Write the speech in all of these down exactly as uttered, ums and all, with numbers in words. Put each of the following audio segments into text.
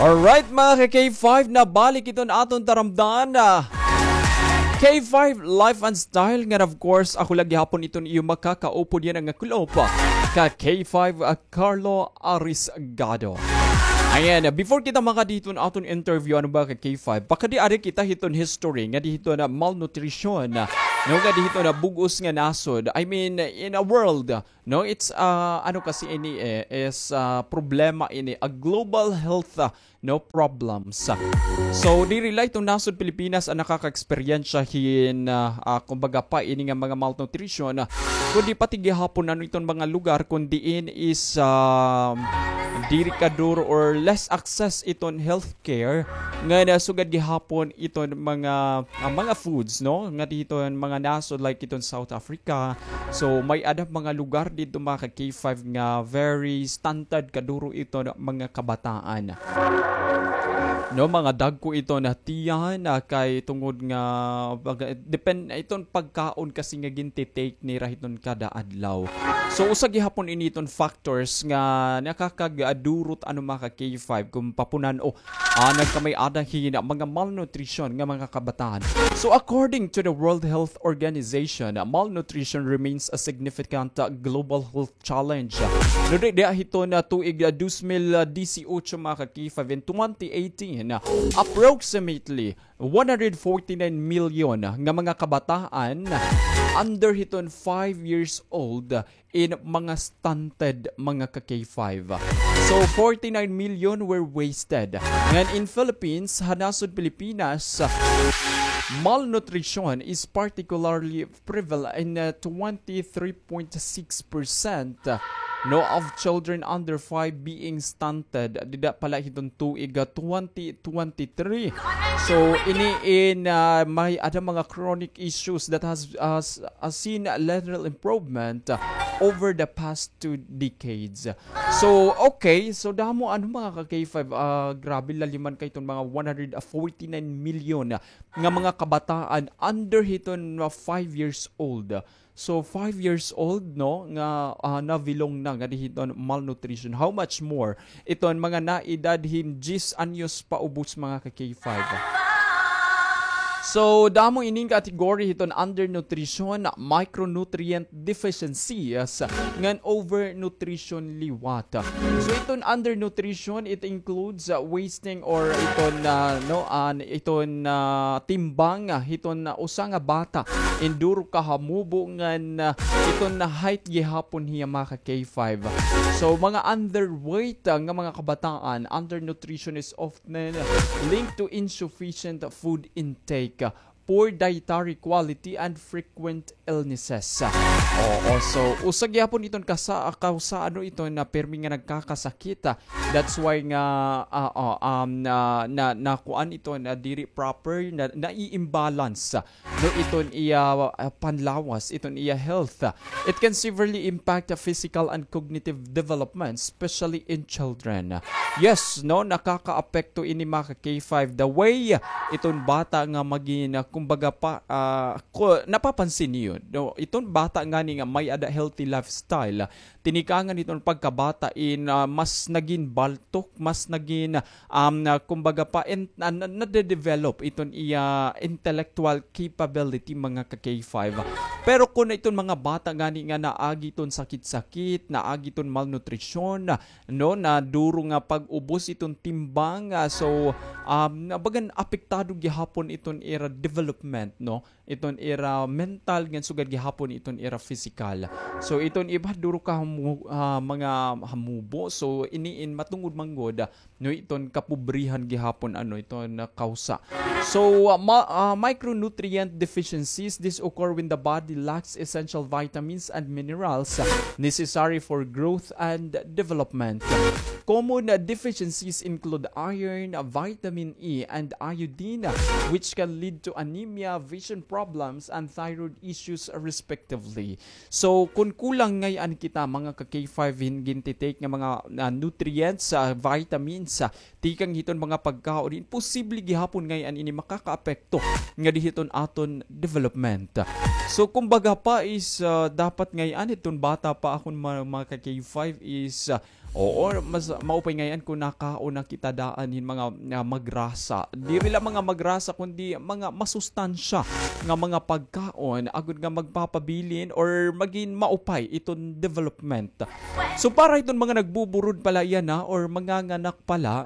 Alright, mga ka K five, nabalik iton aton taramdan, ah, K five Life and Style, nga of course, ako la gihapon iton iyo makakaupod yana nga kulop, ah, ka K five, ah, Carlo Arisgado. Ayan, ah, before kita makadi hiton aton interview, ano ba ka K five? Pakadi-adi kita hiton history nga di hiton malnutrition, ah, no, nga di hiton bug-os nga nasod. I mean, in a world, no, it's, ah, ano kasi ini, eh, is, ah, problema ini, a global health, ah, no, problems. So, diri la iton nasod Pilipinas an nakaka-eksperyensya hin, ah, ah, kumbaga pa ini nga mga malnutrition, ah, kundi pati gihapon ano iton mga lugar kun diin is, ah, diri kaduro or less access iton healthcare, nga nasugad gihapon iton mga, ah, mga foods, no, nga di hiton mga nasod like iton South Africa. So, may-ada mga lugar didto, mga ka K five, nga very stunted kaduro iton mga kabataan. No, mga dagko iton tiyan, ah, kay tungod nga pag-, depend iton pagkaon kasi nga ginti-take nira hiton kada adlaw. So, usa gihapon ini iton factors nga nakakadurot ano, mga ka K five, kun papunan-o, ah, nagkamay-ada hin mga malnutrition nga mga kabataan. So, according to the World Health Organization, ah, malnutrition remains a significant, ah, global health challenge. No, di, di, hiton tuig, ah, dos mil disiotso, mga ka K five, in twenty eighteen, ah, approximately one hundred forty-nine million nga mga kabataan under hiton five years old in mga stunted, mga ka K five. So, forty-nine million were wasted. Ngan in Philippines, ha nasod Pilipinas, malnutrition is particularly prevalent in, uh, twenty-three point six percent, uh, no, of children under five being stunted dida pa la hiton tuig, uh, twenty twenty-three. So, ini in, uh, may-ada mga chronic issues that has, has, has seen a little improvement, uh, over the past two decades. So, okay. So, damo ano, mga ka K five, ah, grabe, laliman kay iton mga one hundred forty-nine million nga mga kabataan under hiton, ah, five years old. So, five years old, no, nga, ah, na-belong na nga di hiton malnutrition. How much more iton mga naedad hin diyes anyos paubos, mga ka K five? So, damo ining category hiton undernutrition, micronutrient deficiencies, ngan overnutrition liwat. So, iton undernutrition, it includes, uh, wasting or iton, uh, no, an, iton, uh, timbang, uh, hiton, uh, usa nga bata in duro ka hamubo ngan, uh, iton height gihapon hiya, mga ka K five. So, mga underweight, uh, nga mga kabataan, undernutrition is often linked to insufficient food intake, poor dietary quality, and frequent illnesses. Oo, so, usa gihapon iton kasa-, kawsa, ano, iton na pirmi nga nagkakasakit. That's why nga, ah, oh, um, na, na, nakuan iton na diri proper, na, nai-imbalance, no, iton iya, ah, panlawas, iton iya health. It can severely impact the physical and cognitive development, especially in children. Yes, no, nakakaapekto ini, mga ka K five. The way iton bata nga magin, ah, kumbaga pa, ah, ku-, napapansin niyo, no, iton bata ngani nga may-ada healthy lifestyle, tinikangan iton pagkabata in, ah, mas nagin baltok, mas nagin, um, na, kumbaga pa, in, na, na, nade-develop iton iya intellectual capability, mga ka K five. Pero kun iton mga bata ngani nga naagi iton sakit-sakit, naagi iton malnutrition, no, na duro nga pag-ubos iton timbang, ah, so, um, na bagan apektado gihapon iton ira development, no? Iton ira mental ngan sugad gihapon iton ira pisikal. So, iton iba duro ka hamu-, ah, mga hamubo. So, ini in matungod man gud, ah, no, iton kapobrihan gihapon, ano, iton, ah, kawsa. So, ah, ma-, ah, micronutrient deficiencies, this occur when the body lacks essential vitamins and minerals, ah, necessary for growth and development. Common, ah, deficiencies include iron, ah, vitamin E, and iodine, ah, which can lead to anemia, vision problems, and thyroid issues, respectively. So, kun kulang ngay-an kita, mga ka K five, hin ginti-take nga mga, ah, nutrients, ah, vitamins, ah, tikang hiton mga pagkaon, imposible gihapon ngay-an ini makakaapekto ngadi hiton aton development. So, kumbaga pa is, ah, dapat ngay-an hiton bata pa akon ma-, mga ka K five is, ah, Oo, mas maupay ngay-an kon nakaon na kita daan hin mga, ah, magrasa. Diri la mga magrasa, kundi mga masustansya nga mga pagkaon, agod nga magpapabilin or magin maupay iton development. So, para iton mga nagbuburod pala yana or manganganak pala,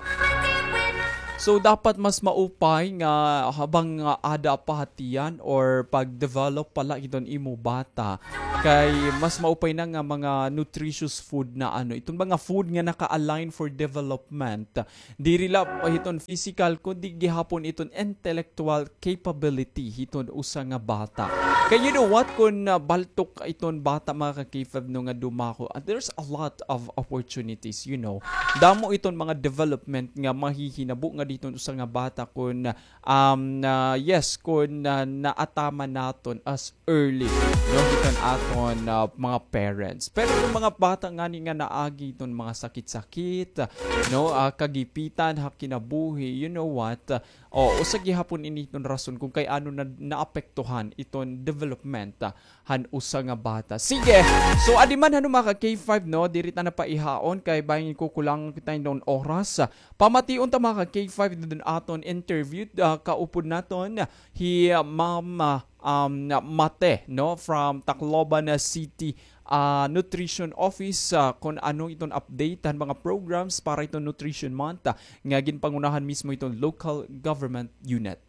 so, dapat mas maupay nga habang, ah, ada pa ha tiyan or pag-develop pala iton imo bata, kay mas maupay na nga mga nutritious food na ano, iton mga food nga naka-align for development. Diri la hiton physical, kundi gihapon iton intellectual capability hiton usa nga bata. Kay you know what, kun, ah, baltok iton bata, mga ka-K five, no, nga dumako, ah, there's a lot of opportunities, you know. Damo iton mga development nga mahihinabo nga diton usa nga bata kun, um, na, yes, kun, ah, naataman naton as early, no, hiton aton, ah, mga parents. Pero iton mga bata ngani nga naagi iton mga sakit-sakit, no, ah, kagipitan ha kinabuhi, you know what, ah, o, usa gihapon ini iton rason kon kay ano na naapektuhan iton development, ah, han usa nga bata. Sige. So, adi man, ano, mga ka-K five, no, diri ta na paihaon kay bangin kukulangan kita hin oras. Pamation ta, mga ka-K five, iton aton interview, ah, kaupod naton hi, ah, Ma'am, ah, um, Mate, no, from Tacloban, ah, City, ah, Nutrition Office, ah, kon ano iton update han mga programs para iton Nutrition Month, ah, nga ginpangunahan mismo iton local government unit.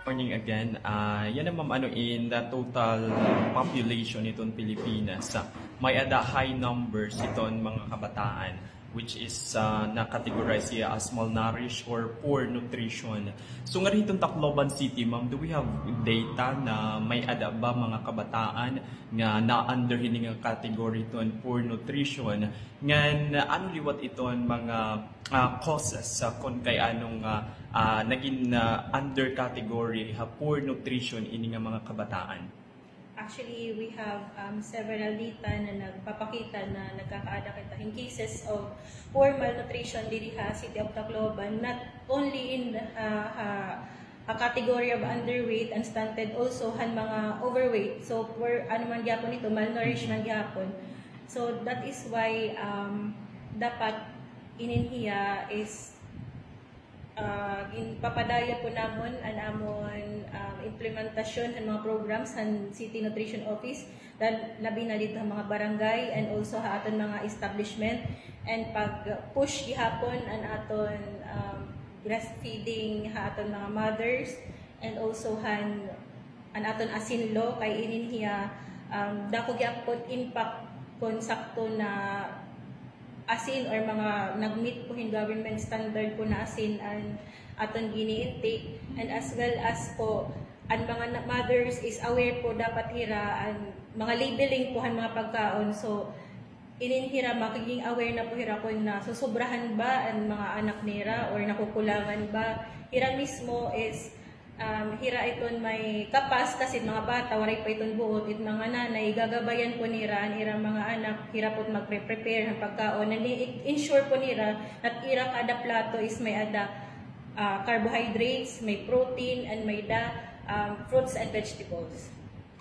Morning again. Ah, yana, ma'am, ano, in the total population iton Pilipinas, ah, may-ada high numbers iton mga kabataan, which is, ah, na-categorize hiya as malnourished or poor nutrition. So, ngari hiton Tacloban City, ma'am, do we have data na may-ada ba mga kabataan nga na-under hini nga category hiton poor nutrition? Ngan, ano liwat iton mga, ah, causes, ah, kon kay ano nga, ah, nagin, ah, under category ha poor nutrition ini nga mga kabataan? Actually, we have, um, several data na nagpapakita na nagkakaada kita hin cases of poor malnutrition diri ha City of Tacloban, not only in, ah, ha, ha category of underweight and stunted, also han mga overweight. So, poor, ano man gihapon ito, malnourished man gihapon. So, that is why, um, dapat inin hiya is ah, ginpapadayon po namon an amon, ah, implementasyon han mga programs han City Nutrition Office, lal-, labi na didto ha mga barangay and also ha aton mga establishment, and pag-push gihapon an aton, um, breastfeeding ha aton mga mothers, and also han an aton asin law, kay inin hiya, um, dako gyapon impact kon sakto na asin or mga nag-meet po hin government standard po na asin an aton gini-intake, and as well as po an mga na-, mothers is aware po dapat hira an mga labeling po han mga pagkaon. So, inin hira, magiging aware na po hira kon nasusobrahan ba an mga anak nira or nakukulangan ba. Hira mismo is, um, hira iton may kapas kasi mga bata, waray pa iton buot, it mga nanay, gagabayan po nira an ira mga anak, hira po magpre-prepare han pagkaon. And i-, ensure po nira na ira kada plato is may-ada, ah, carbohydrates, may protein, and may-ada, um, fruits and vegetables.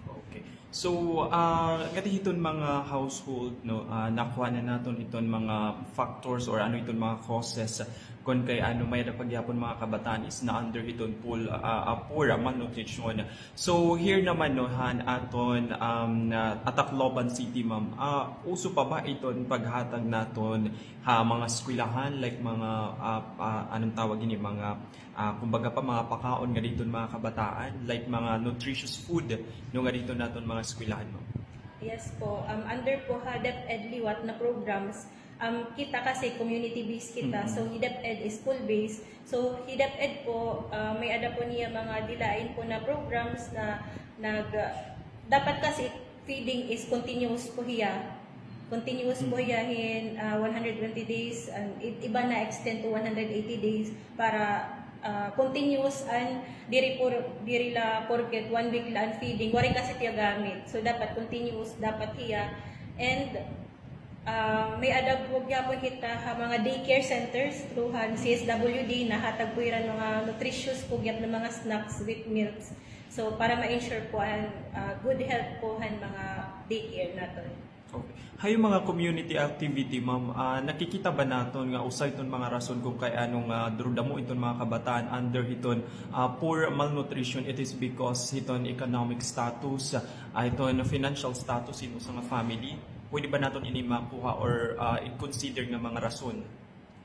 Okay. So, ah, ngadi hiton mga household, no, ah, nakuha na naton iton mga factors or ano iton mga causes kon kay ano may-ada pa gihapon mga kabataan is na-under hiton poor, ah, ah, poor malnutrition. So, here naman, no, han aton, um, na, ha Tacloban City, ma'am, ah, uso pa ba iton paghatag naton ha mga eskwelahan, like mga, ah, ah, anong tawag ini, mga ah, kumbaga pa, mga pakaon ngadi hiton mga kabataan, like mga nutritious food, no, ngadi hiton aton mga eskwelahan, ma'am? Yes po. Um, under po ha DepEd liwat na programs, um, kita kasi community-based kita. Mhm. So, hi DepEd is school-based. So, hi DepEd po, ah, may-ada po niya mga dilain po na programs na nag-, dapat kasi feeding is continuous po hiya. Continuous po hiya hin, ah, one hundred twenty days, and i-, iba na-extend to one hundred eighty days para, ah, continuous and diri por-, diri la porket one week la an feeding, waray kasi tiyagamit. So, dapat continuous, dapat hiya. And, ah, may-ada po gihapon kita ha mga daycare centers through han C S W D, nahatag po hira mga nutritious po gihap na mga snacks with milks. So, para ma-ensure po an, ah, good health po han mga daycare naton. Okay. Ha iyo mga community activity, ma'am, ah, nakikita ba naton nga usa iton mga rason kon kay ano nga duro damo iton mga kabataan under hiton, ah, poor malnutrition, it is because hiton economic status, ah, iton financial status hin usa nga family? Pwede ba naton ini makuha or, ah, i-consider nga mga rason?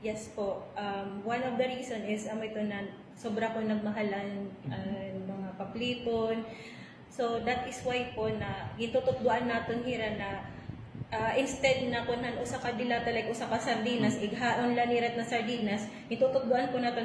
Yes po. Um, one of the reason is amo ito na sobra ko nagmahalan an mga paplipon. So that is why po na gintututdoan naton hira na, ah, instead na kun han usa ka dilata, like usa ka sardinas, ighaon la nira na sardinas, gintututdoan po naton